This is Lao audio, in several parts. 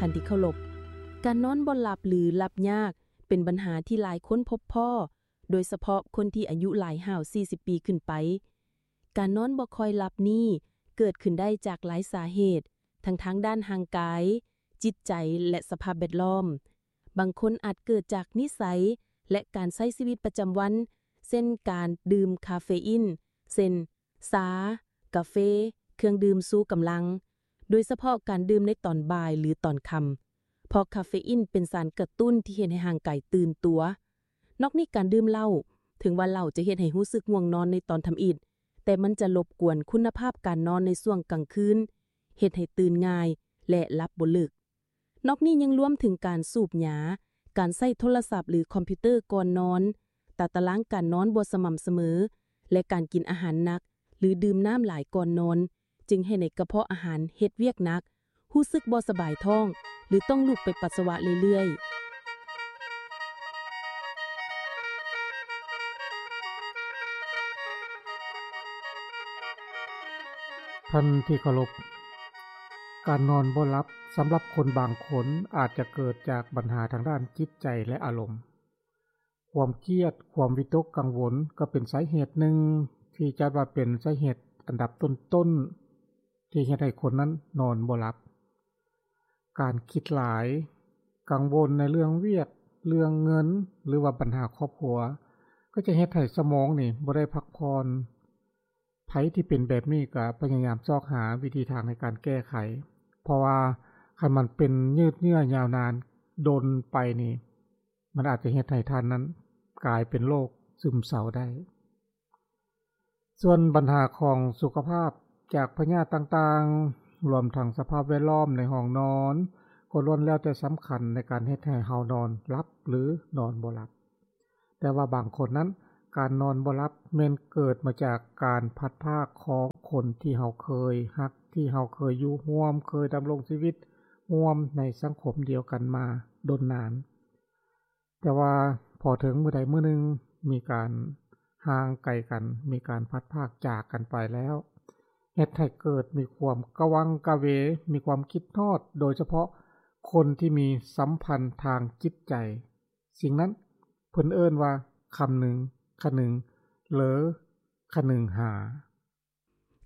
ທ່ານທີ່ເຄົາລົບ, ການນອນບໍ່ຫຼັບ ຫຼື ຫຼັບຍາກ ເປັນບັນຫາທີ່ຫຼາຍຄົນພົບພໍ້, ໂດຍສະເພາະຄົນທີ່ອາຍຸຫຼາຍຮາວສີ່ສິບປີຂຶ້ນໄປ. ການນອນບໍ່ຄ່ອຍຫຼັບນີ້ເກີດຂຶ້ນໄດ້ຈາກຫຼາຍສາເຫດ, ທັງທາງດ້ານຮ່າງກາຍ, ຈິດໃຈ ແລະ ສະພາບແວດລ້ອມ. ບາງຄົນອາດເກີດຈາກນິໄສ ແລະ ການໃຊ້ຊີວິດປະຈຳວັນ, ເຊັ່ນ ການດື່ມຄາເຟອີນ, ເຊັ່ນ ຊາ, ກາເຟ, ເຄື່ອງດື່ມຊູກຳລັງ, ໂດຍສະເພາະການດື່ມໃນຕອນບ່າຍ ຫຼື ຕອນຄ່ຳ, ເພາະຄາເຟອີນເປັນສານກະຕຸ້ນທີ່ເຮັດໃຫ້ຮ່າງກາຍຕື່ນຕົວ. ນອກນີ້ການດື່ມເຫຼົ້າ, ເຖິງວ່າເຫຼົ້າຈະເຮັດໃຫ້ຮູ້ສຶກງ່ວງນອນໃນຕອນທຳອິດ, ແຕ່ມັນຈະລົບກວນຄຸນນະພາບການນອນໃນຊ່ວງກາງຄືນ, ເຮັດໃຫ້ຕື່ນງ່າຍ ແລະ ຫຼັບບໍ່ເລິກ. ນອກນີ້ຍັງລວມເຖິງການສູບຢາ, ການໃຊ້ໂທລະສັບ ຫຼື ຄອມພິວເຕີກ່ອນນອນ, ຕາຕະລາງການນອນບໍ່ສະໝ່ຳສະເໝີ ແລະ ການກິນອາຫານໜັກ ຫຼື ດື່ມນ້ຳຫຼາຍກ່ອນນອນ, ຈຶ່ງເຮັດໃຫ້ກະເພາະອາຫານເຮັດວຽກໜັກ, ຮູ້ສຶກບໍ່ສະບາຍທ້ອງ ຫຼື ຕ້ອງລຸກໄປປັດສະວະເລື້ອຍໆ. ທ່ານທີ່ເຄົາລົບ, ການນອນບໍ່ຫຼັບສຳລັບຄົນບາງຄົນອາດຈະເກີດຈາກບັນຫາທາງດ້ານຈິດໃຈ ແລະ ອາລົມ. ຄວາມຄຽດ, ຄວາມວິຕົກກັງວົນກໍເປັນສາເຫດໜຶ່ງທີ່ຈັດວ່າເປັນສາເຫດອັນດັບຕົ້ນໆ ທີ່ເຮັດໃຫ້ຄົນນັ້ນນອນບໍ່ຫຼັບ. ການຄິດຫຼາຍ, ກັງວົນໃນເລື່ອງວຽກ, ເລື່ອງເງິນ ຫຼືວ່າບັນຫາຄອບຄົວ ກໍຈະເຮັດໃຫ້ສະໝອງນີ້ບໍ່ໄດ້ພັກຜ່ອນ. ໃຜທີ່ເປັນແບບນີ້ກໍພະຍາຍາມຊອກຫາວິທີທາງໃນການແກ້ໄຂ, ເພາະວ່າຄັນມັນເປັນຍືດເຍື້ອຍາວນານດົນໄປນີ້ ມັນອາດຈະເຮັດໃຫ້ທ່ານນັ້ນກາຍເປັນໂລກຊຶມເສົ້າໄດ້. ສ່ວນບັນຫາຂອງສຸຂະພາບຈາກພະຍາດຕ່າງໆ, ລວມທັງສະພາບແວດລ້ອມໃນຫ້ອງນອນ, ກໍລ້ວນແລ້ວແຕ່ສຳຄັນໃນການເຮັດໃຫ້ເຮົານອນຫຼັບ ຫຼື ນອນບໍ່ຫຼັບ. ແຕ່ວ່າບາງຄົນນັ້ນ, ການນອນບໍ່ຫຼັບແມ່ນເກີດມາຈາກການພັດພາກຂອງຄົນທີ່ເຮົາເຄີຍຮັກ, ທີ່ເຮົາເຄີຍຢູ່ຮ່ວມ, ເຄີຍດຳລົງຊີວິດຮ່ວມໃນສັງຄົມດຽວກັນມາດົນນານ. ແຕ່ວ່າພໍເຖິງມື້ໃດມື້ໜຶ່ງມີການຫ່າງໄກກັນ, ມີການພັດພາກຈາກກັນໄປແລ້ວ, ເຮັດໃຫ້ເກີດມີຄວາມກະວັງກະເວ, ມີຄວາມຄິດຮອດ, ໂດຍສະເພາະຄົນທີ່ມີສຳພັນທາງຈິດໃຈ. ສິ່ງນັ້ນເພິ່ນເອີ້ນວ່າຄຳນຶງ, ຄະນຶງ ຫຼື ຄະນຶງຫາ.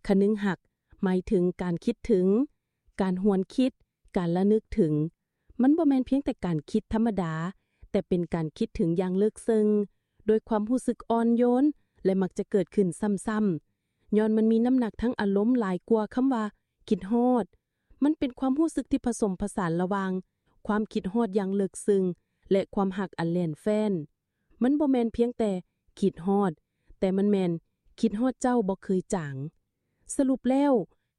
ຄະນຶງຮັກ ໝາຍເຖິງການຄິດເຖິງ, ການຫວນຄິດ, ການລະນຶກເຖິງ. ມັນບໍ່ແມ່ນພຽງແຕ່ການຄິດທຳມະດາ, ແຕ່ເປັນການຄິດເຖິງຢ່າງເລິກເຊິ່ງ, ໂດຍຄວາມຮູ້ສຶກອ່ອນໂຍນ ແລະ ມັກຈະເກີດຂຶ້ນຊ້ຳໆ, ຍ້ອນມັນມີນ້ຳໜັກທາງອາລົມຫຼາຍກວ່າຄຳວ່າຄິດຮອດ. ມັນເປັນຄວາມຮູ້ສຶກທີ່ຜະສົມຜະສານລະຫວ່າງຄວາມຄິດຮອດຢ່າງເລິກເຊິ່ງ ແລະ ຄວາມຮັກອັນແໜ້ນແຟ້ນ. ມັນບໍ່ແມ່ນພຽງແຕ່ຄິດຮອດ, ແຕ່ມັນແມ່ນຄິດຮອດເຈົ້າບໍ່ເຄີຍຈາງ. ສະຫຼຸບແລ້ວ,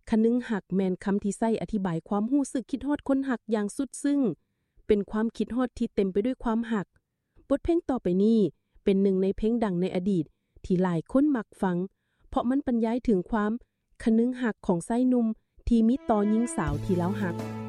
ຄະນຶງຮັກແມ່ນຄຳທີ່ໃຊ້ອະທິບາຍຄວາມຮູ້ສຶກຄິດຮອດຄົນຮັກຢ່າງສຸດຊຶ້ງ, ເປັນຄວາມຄິດຮອດທີ່ເຕັມໄປດ້ວຍຄວາມຮັກ. ບົດເພງຕໍ່ໄປນີ້ເປັນໜຶ່ງໃນເພງດັງໃນອະດີດທີ່ຫຼາຍຄົນມັກຟັງ, ເພາະມັນບັນຍາຍເຖິງຄວາມຄະນຶງຮັກຂອງຊາຍໜຸ່ມທີ່ມີຕໍ່ຍິງສາວທີ່ລາວຮັກ.